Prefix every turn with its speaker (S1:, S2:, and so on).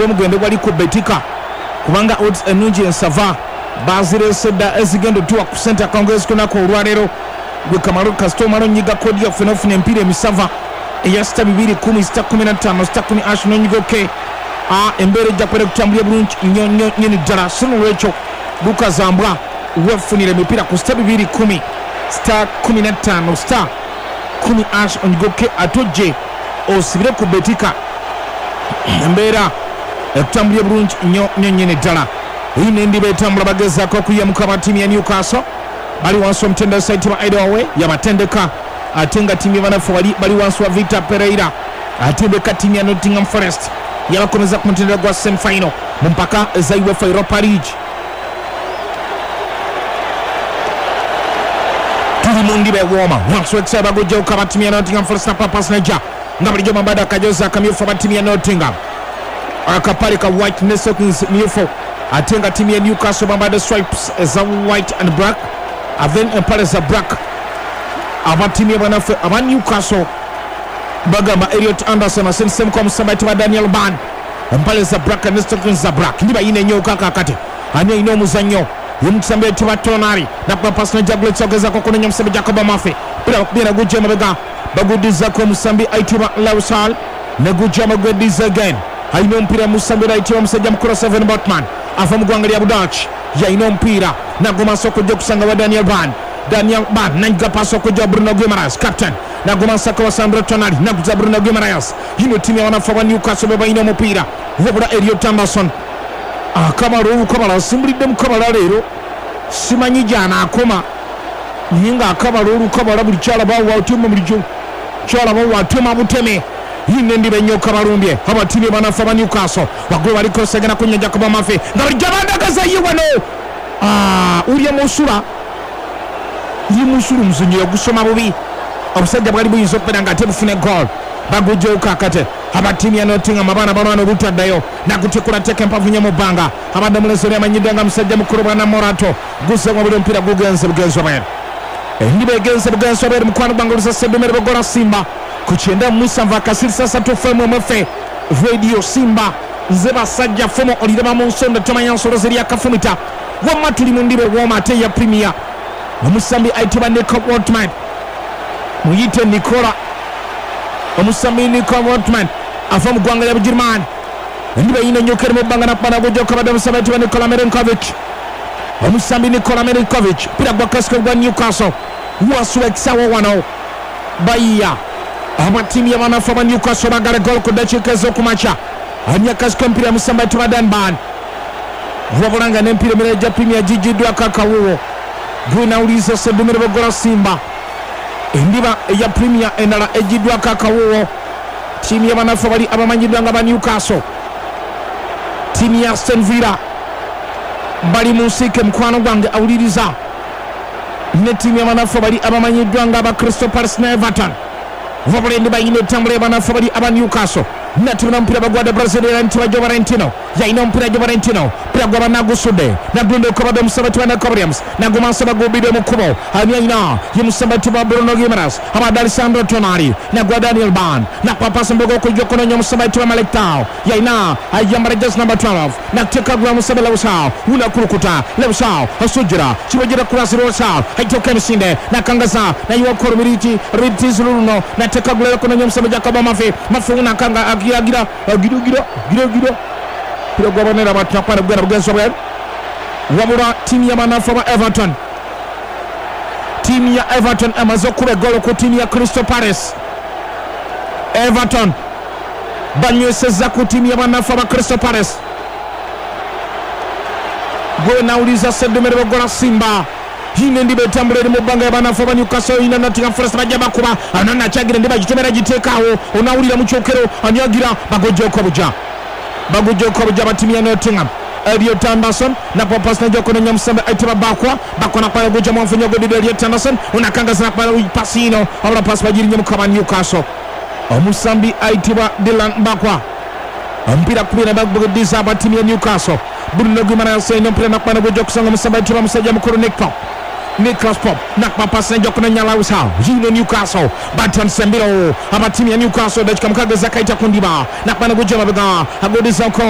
S1: Gwe mugende wali ku Betika, kubanga odds ennungi ensava bazireese dda ezigenda otuwa ku sente akawungeezi k'olunaku olwaleero. Gwe kamalo kasita omala onyiga kodi yaffe n'ofuna empiira emisava eya *210 *15 *10# n'onyiga OK, embeera ejja kubeera kutambulira bulungi nnyo nnyo nnyini ddala. So nolwekyo lukazambwa wefunira emipiira ku *210 *15 *10# onyiga OK, ate ojje osibire ku Betika, embeera ekutambulira bulungi nnyo nnyo nnyini ddala. Eyi nendiba etambula, bagezaako okuyiyamuka aba ttiimu ya Newcastle, bali wansi omutendesi ayitibwa Eddie Howe yabatendeka, ate nga ttiimu y'abanafu bali wansi wa Victor Pereira atendeka ttiimu ya Nottingham Forest, yabakomeza ku mutendera gwa semifinal mu mpaka eza UEFA Europa League. Tuli mu ndiba ewooma wansi wekisaawe, bagujjawuka aba ttiimu ya Nottingham Forest na papas neja nga bulijjo mambadde akajozi akamyufu aba ttiimu ya Nottingham, akapale ka white ne stockings myufu, ate nga ttiimu ya Newcastle bambadde stripes eza white and black, then empale za black. Aba ttiimu y'abanaffe aba Newcastle bagamba Elliot Anderson asensemuko omusamba ayitibwa Daniel Ban, empale za black ne stockings za black. Ndiba yina enyooka kakati ani alina omuzannyo ye mukisambi ayitibwa Tonali, nakuba pasi nejagulekisa ogezako kunenya omusambi Jacob Murphy, mpira bakubye nagujja emabega, baguddizako omusambi ayitibwa Lausal, negujja amagweddiza again. Alina omupiira musambi ayitibwa omusajja mukulu Seven Botman, ava mu ggwanga lya Budach, yalina omupiira nagomasa okujja okusanga wa Daniel Ban. Daniel Ban nanyiga pasi okujja Bruno Guimaraes, captain, nagomasako wa Sandro Tonali, naguza Bruno Guimaraes. Yino ttiimu y'abanafu aba Newcastle be balina omupiira, wabula Elliot Anderson akabala olukabala asimbulidde mukabala leero, simanyi gyanaakoma, naye ng'akabala olukabala buli kyalaba watema, buli kyalaba watema buteme. Yine endiba ennyoka balumbye abatiimi banafu aba Newcastle, waggulu baliko segena kunya Jacob Murphy nga bulijjo bandagaza ye wano ulya musula ye musula omuzannyo yagusoma bubi, obusajja bwali buyinza okubeera nga ate bufune goal. Bagujjawo kakate abatiimu ya Nottingham, abaana balwana obutaddayo, nagutikula teeka empavu nnyo mu bbanga, abadde mulezi oli amanyiddwa nga musajja mukulu bwana Morato, guzzeemu buli omupiira gugenze bugenzi obweru, endiba egenze bugenzi obweru. Mukwano gwange olusasedumere bogola Simba ku 97.3 FM mwefe Radio Simba, nze basajja fumo oliraba mu nsonda tomanya nsolo zeri akafumita. Wamma tuli mu ndiba ewooma ate ya Premier. Omusambi ayitibwa Nico Woltman, muyite Nicola, omusambi Nico Woltman ava mu ggwanga lya Bugirimaani. Endiba eyina enyoka eri mu bbanga nakubana gujja okabadde omusambi ayitibwa Nikola Milenkovic, omusambi Nikola Milenkovic, mpira gwa kasiko gwa Newcastle wansi w'ekisawo wano bayiya abatiimu y'abanafu aba Newcastle bagala gol ku ddakiika ez'okumakya. Ani akasiko empira musambi ayitibwa Danban, wabula nga n'empiira emirala gya Premier gigiddwako akawuwo. Gwenawuliza Sedumire Bogola Simba, endiba eya Premier endala egiddwako akawuwo, ttiimu y'abanafu bali abamanyiddwa nga ba Newcastle, ttiimu ya Aston Villa bali mu nsiike mukwano gwange awuliriza, ne ttiimu y'abanafu bali abamanyiddwa nga aba Crystal Palace ne Everton. Wabula endiba yina etambula y'abanafu bali aba Newcastle, natubona omupiira bagwadde Brazil era nti bajo Valentino yalina omupiira, jo Valentino mpira gwaba nagusudde nagunda okabadde omusaba tiba Nico Williams, nagumansa bagumbidde mu kkubo, ani alina ye musaba tiba Bruno Guimaraes, abadde Alessandro Tonali, nagwa Daniel Ban, nakuba pasi mbogo okujja okunoonya omusaba tiba Malik Tao, yalina ayambala jezi number 12, nakuteeka gula musaba Lewis unakulukuta Lewis asujira kibajira kurasi Lewis aitoka emisinde nakangaza nayiwako rubiriti rubiritizi luno nateeka gula okunoonya omusaba Jacob Murphy, Murphy unakanga agira agira agira agira agira agira pira gwabonera batapana bugenda bugenzi bwe. Wabula ttiimu y'abanafu aba Everton, ttiimu ya Everton emaze okuba eggolo ku ttiimu ya Crystal Palace. Everton banywesezza ku ttiimu y'abanafu aba Crystal Palace. Gwe nawuliza Sedumere Bogola Simba, yina endiba etambula eri mu bbanga y'abanafu aba Newcastle, yina Nottingham Forest bajja bakuba ana nakyagira endiba gitomera giteekaawo, onawulira mu kyokero anyagira bagojjoko buja bagujjoko buja batimu ya Nottingham. Elliot Anderson nakuba pasi najja okunoonya omusambi ayitibwa Bakwa, Bakwa nakuba gujja mwanfunyo gwedidde Elliot Anderson unakangaza nakuba pasi ino, wabula pasi bagirinye mukaba Newcastle, omusambi ayitibwa Dylan Bakwa, omupiira kubira baguddiza abatimu ya Newcastle. Bruno Guimaraes alina omupiira nakuba gujja okusanga omusambi ayitibwa musajja mukulu Nick Nicholas Pop, nakuba pasi najja okunoonya Lewis Hall. Yino Newcastle batandise embiro abatimu ya Newcastle, dakika 6 ezakayita ku ndiba, nakuba gujja mabega aguddiza ko